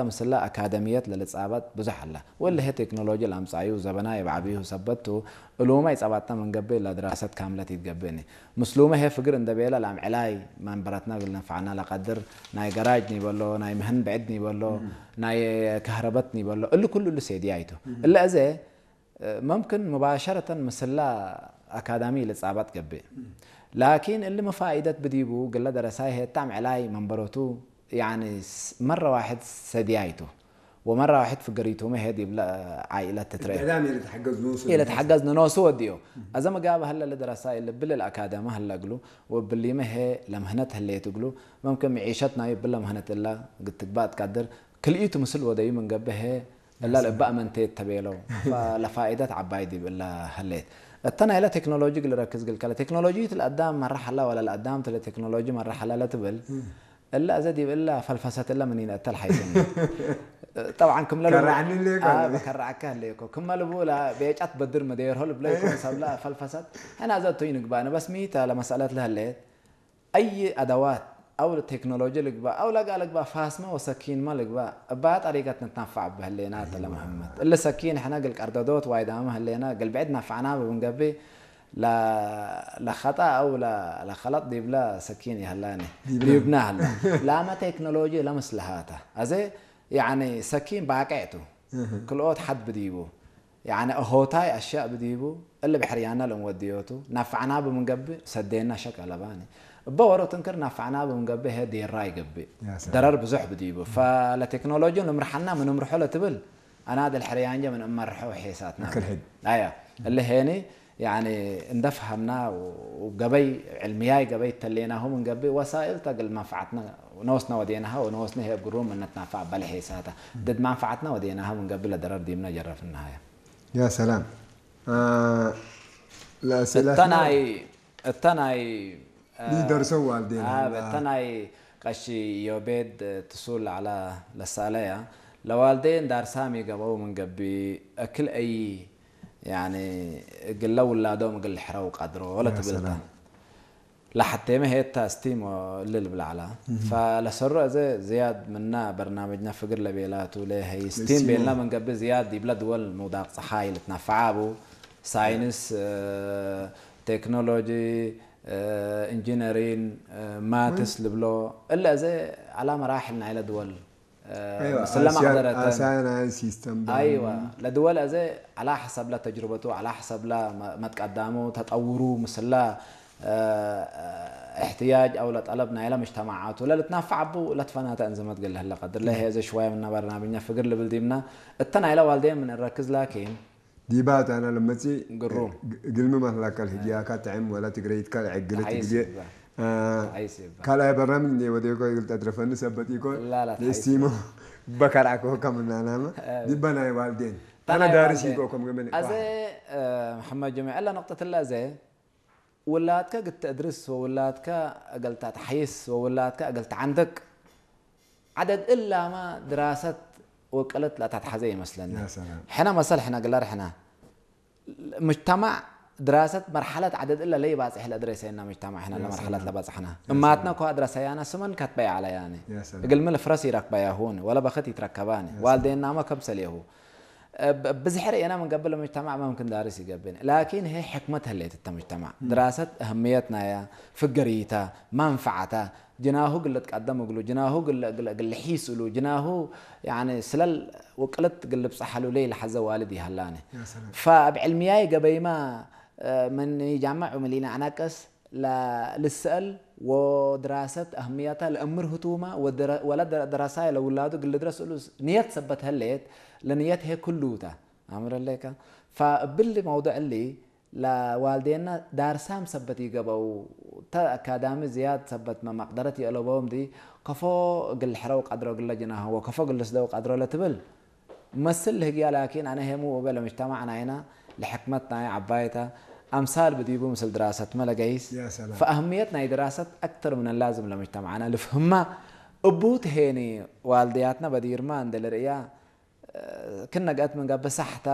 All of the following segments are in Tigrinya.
ምስላ ኣካደሚየት ለልጻባት ብዙሕ ኣላ። ወለ ሄ ቴክኖሎጂ ላምጻዩ ዘበና የብዓብዩ ሰበቱ እሉመ ይጻባጥና መንገቤ ላድራሰት ካምለት ይትገብእኒ። ምስሉመ ሄ ፍግር እንደቤላ ላም ዕላይ መንበረትና ግልነፋዕና ለቀድር ናይ ገራጅ ኒበሎ፣ ናይ ምህን ብዕድ ኒበሎ፣ ናይ ከህረበት ኒበሎ፣ እሉ ኩሉ እሉ ሴድያ ይቱ። እለ እዘ መምክን ሙባሸረተን ምስላ ኣካዳሚ ልጻባጥ ገብእ። ላኪን እሊ መፋኢደት ብዲቡ ግለ ደረሳይ ሄታም ዕላይ መንበሮቱ ያኒ መረ ዋሕድ ሰዲያይቱ ወመረ ዋሕድ ፍገሪቱ መሄድ ይብለ ዓኢለት ትትረ ኢለ ተሓገዝ ንኖሱ ወዲዮ። ኣዘ መጋብ ሀለ ለደረሳይ ልብል ኣካዳሚ ሀለ እግሉ ወብሊመ ሄ ለምህነት ህለየት እግሉ መምክን ምዒሸት ናዩ ብለ ምህነት እላ ግትግባእ ትቃድር ክልኢቱ ምስል ወደዩ ምንገብሀ እላ ለእባ እመንቴት ተቤለው ለፋኢደት ዓባይ ዲብ እላ ሀሌት። እተ ናይላ ቴክኖሎጂ ግልረክዝ ግልከለ ቴክኖሎጂ ትልአዳም መራሐላ ወላ ለአዳም ትለ ቴክኖሎጂ መራሐላ ለትብል እላ እዘ ዲብ እላ ፈልፈሰት እላ ምን ይንአተል ሐይስኒ። ጠብዓን ክምለ ከራዕኒ ሌኮ። በከራዕካ ህሌኮ ክመ ልቡ ላ ቤጫት በድር መደየርሆ ልብለይኮ ሰብላ ፈልፈሰት ሕና እዘ እቶይ ንግባእነ በስ ሚታ ለመሰለት ለህሌት أي أدوات أو التكنولوجيا ልግባእ أو ለጋ ልግባእ ፋስማ ወሰኪንማ ልግባእ እባ ጠሪቀት ንትናፋዕ ብህሌና ተለ መሐመድ እለ ሰኪን ሕነ ግል ቀርደዶት ዋይዳማ ህሌና ግል ብዕድ ናፋዕና ብብንገቢ ለኸጣ أو ለኸለጥ ዲብላ ሰኪን ይህላኒ ዲብና ህላ ላመ ቴክኖሎጂ ለመስልሃታ ኣዘ ያኒ ሰኪን ባቄዕቱ ክልኦት ሓድ ብዲቡ ያኒ እሆታይ ኣሻእ ብዲቡ እሊ ብሕርያና ለንወድዮቱ ናፋዕና ብምንገብእ ሰደና ሸክ ኣለባኒ እበ ወሮ ትንክር ናፋዕና ብምንገብእ ሄ ዴራ ይገብእ ደረር ብዙሕ ብዲቡ ፈለቴክኖሎጂ ንምርሓና ምንምርሖ ለትብል ኣና ደልሕርያንጀ ምን እመርሖ ሄሳትና ኣያ እሊ ሄኒ ያኒ እንደፍሃምና ገበይ ዕልምያይ ገበይ ተሌናሁ ምንገብእ ወሳኢል ተግል መንፈዓትና ነወስና ወዴናሃ ወነወስና ሄ ግሩም እነትናፋዕ በለ ሄሳታ ድድ መንፈዓትና ወዴናሃ ምንገብእ ለደረር ዲምና ጀረፍናሃያ يا سلام እተናይ እተናይ ይደርሰው ዋልዴን እተናይ ቀሺ ዮቤድ ትሱል ዓላ ለሳለያ ለዋልዴን ዳርሳም ይገበው ምንገቢ እክል እይ ያኒ እግለ ውላዶም እግል ሕረው ቀድሮ ለትብልታ ለሐቴመ ሄታ ስቲሞ እልል ብላዕላ ፈለሰሩ እዘ ዝያድ ምና በርናመጅና ፍግር ለቤላቱ ለሀይ ስቲም ቤልና መንገቢ ዝያድ ይብለ ድወል ምውዳቅ ፀሓይ ልትናፈዓቡ ሳይንስ ቴክኖሎጂ ኢንጂነሪን ማትስ ልብሎ እለ እዘ ኣላ መራሕል ናይለ ድወል ምስለ ማሕደረተን ኣሳናን ሲስተም ኣይዋ ለድወል እዘ ኣላ ሐሰብላ ተጅርበቱ ኣላ ሐሰብላ መትቀዳሙ ተጠውሩ ምስላ احتياج أو لطلب نايلا مجتمعات ولا لتنافع أبو لا تفناتا أنزمت قال هلا قدر لا هي زي شوية من برنامجنا فقر لبلديمنا التنايلا والدين من الركز لكن ዲባት ኣና ለመጺ ግሩም። ግልሚ ማህላካ ልህግያካ ጥዕም ወላ ትግረይትካ ልዕግለት ተሓይስ ግዜ ይግባእ። አ፣ ተሓይስ ይግባእ። ካልኣይ በራም እንደ ወደ ኮ ይግል ተድረፈኒ ሰበት ይኮ ላ፣ ላ፣ ተሓይስ ለስቲሞ በካልዓኮ ከምናናማ እ፣ ዲባ ናይ ዋልዴን ታና ኣነ ዳርስ ዋልዴን። ይኮ ከም ገመን ኣዘ እ፣ መሐመድ ጀሚዕ ኣላ ነቕጠትላ ኣዘ ውላድካ ግተእድርስ ወውላድካ እገልታ ተሓይስ ወውላድካ እገልታ ዓንደቅ ዓደድ እላማ ድራሰት ወቀለት ላታትሓዘ ይመስለኒ يا سلام. ሕና መሰል ሕና ግላር ሕና مجتمع دراسة مرحلة عدد إلا لي باصح لأدرس إن مجتمع إحنا يا مرحلة سلام. لبصحنا يا أماتنا سلام. كو أدرس أنا سمن كتبي على يعني يا سلام. قل من الفرس يرك بيا هون ولا بخت يتركباني يا والدينا ما كم سليهو بزحر أنا من قبل المجتمع ما ممكن دارس يقبل لكن هي حكمتها اللي تتمجتمع دراسة أهميتنا يا فقريتها منفعتها جناهو قلت قدم قلو جناهو قل قل قل حيس قلو جناهو يعني سلال وقلت قل بصحلو لي لحظة والدي هلاني يا سلام. فبعلمياي قبيما آه، من يجمع ملينا عناقص لا للسأل ودراسة أهميتها لأمر هتوما ودرا- ولا در- دراسة لولاده قل درس ألوس نية سبت هليت لنية هي كلوتا أمر لك فباللي موضوع اللي ለዋልዴና ዳርሳም ሰበት ይገበው ተ ኣካዳሚ ዝያድ ሰበት መማቅደረት የእለበውም ዲ ከፎ ግል ሕረው ቀድሮ ግለ ጅናሆ ወከፎ ግል ስደው ቀድሮ ለትብል መስል ልህግያ ላኪን ኣነ ሄሙ ወበ ለምጅተማዕ ናይና ለሕክመት ናይ ዓባይታ ኣምሳል ብዲቡ ምስል ድራሰት መለገይስ يا سلام. ፈአህምየት ናይ ድራሰት ኣክተር ምን ላዝም ለምጅተማዕና ልፍህማ እቡ ትሄኒ ዋልድያትና በዲርማ እንደ ልርእያ ክነ ገእት ምን ገብእ ሳሕታ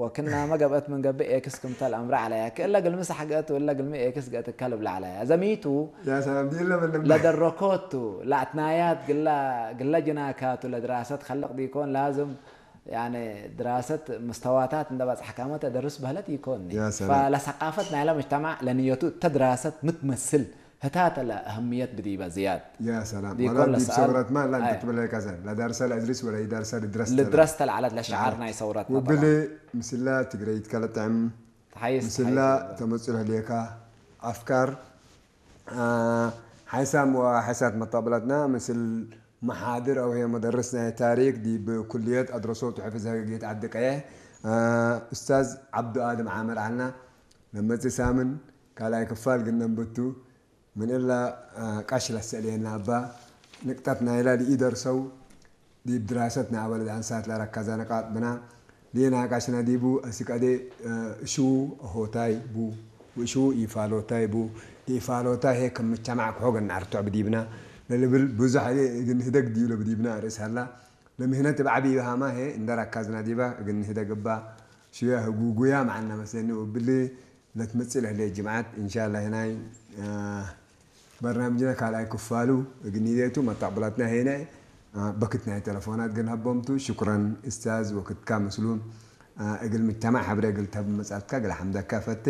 ወክና መገብአት ምን ገብእ ኤክስ ክምተል አምረ ዐለያ። ክእለ ግልሚ ሳሕ ገእት ወለ ግልሚ ኤክስ ገእት እከ ልብለ ዐለያ። ዘሚቱ يا سلام دي لما ለደረኮቱ ለአትናያት ግላ ጅናካቱ ለድራሰት ከልቅ ዲኮን ላዝም ያኔ ድራሰት ምስተዋታት እንደ በጽሕካመ ተደርስ በህለት ይኮን يا سلام. ፈለሰቃፈት ናይለ ምጅተማዕ ለንየቱ ተድራሰት ምትመስል ህታተ ለአህምየት ብዲበ ዝያድ يا سلام دي ولا كل دي سؤال. بسبرة ما لا انت أي. تبلي كذا لا دارسة لا ادرس ولا يدرسة لدرست ልድረስ ተልዓለት ለሸዓር ናይ ሰውረትና وبلي مسلا تقريت كلا تعم ተሓይስ مسلا تمثل هليكا افكار ሓይሳም ወሓይሳት መጣብላትና ምስል መሓድር ኣው ሄ መደርስ ናይ ታሪክ ዲብ ኩልየት ኣድረሶ ትሕፍዝ ህግየት ዓዲ ቀየሕ ኡስታዝ ዓብዱ ኣድም ዓመር ዓልና ለመጽእ ሳምን ካልኣይ ክፋል ግን ነንብቱ ምን እላ ቃሽ ለሰእልየና እባ ንቅጠት ናይላ ልኢደርሰው ዲብ ድራሰት ናይ ኣወለድ ኣንሳት ለረካዛ ነቃጥ ብና ሊናቃሽና ዲቡ አስቀዴ እሽዉ ሆታይ ቡ ወእሽዉ ኢፋሎታይ ቡ ኢፋሎታይ ሄ ከም ምቸማዕ ክሖ ገናርቶዕ ብዲብና ለልብል ብዙሕ ሄ እግን ህደግ ዲብሎ ብዲብና ርእስ ሀላ ለምህነት ብዓቢ ይሃማ ሄ እንደራካዝና ዲባ እግን ህደግ እባ ሽያ ህጉጉያ መዓና መስለኒ ወብሊ ለትመጽእ ለህለ ጅምዓት ኢንሻላ ሄናይ በርናምጅና ካልኣይ ክፋሉ እግኒዴቱ መጣቅብላትና ሄነ በክት ናይ ተለፎናት ግን ሀቦምቱ ሽኩረን እስታዝ ወክትካ ምስሉ እግል ምጅተማዕ ሐብረ እግል ተብ መጻትካ እግል ሐምደካ ፈቴ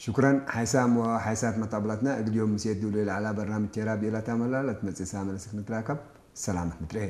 ሽኩረን ሓይሳም ወሓይሳት መጣቅብላትና እግል ዮም ምሴት ድብሉ ለዓላ በርናምጅ ቴራ ብኢላ ታመላ ለትመጽእ ሳመ ለስክ ንትራከብ ሰላመት ምትርሄ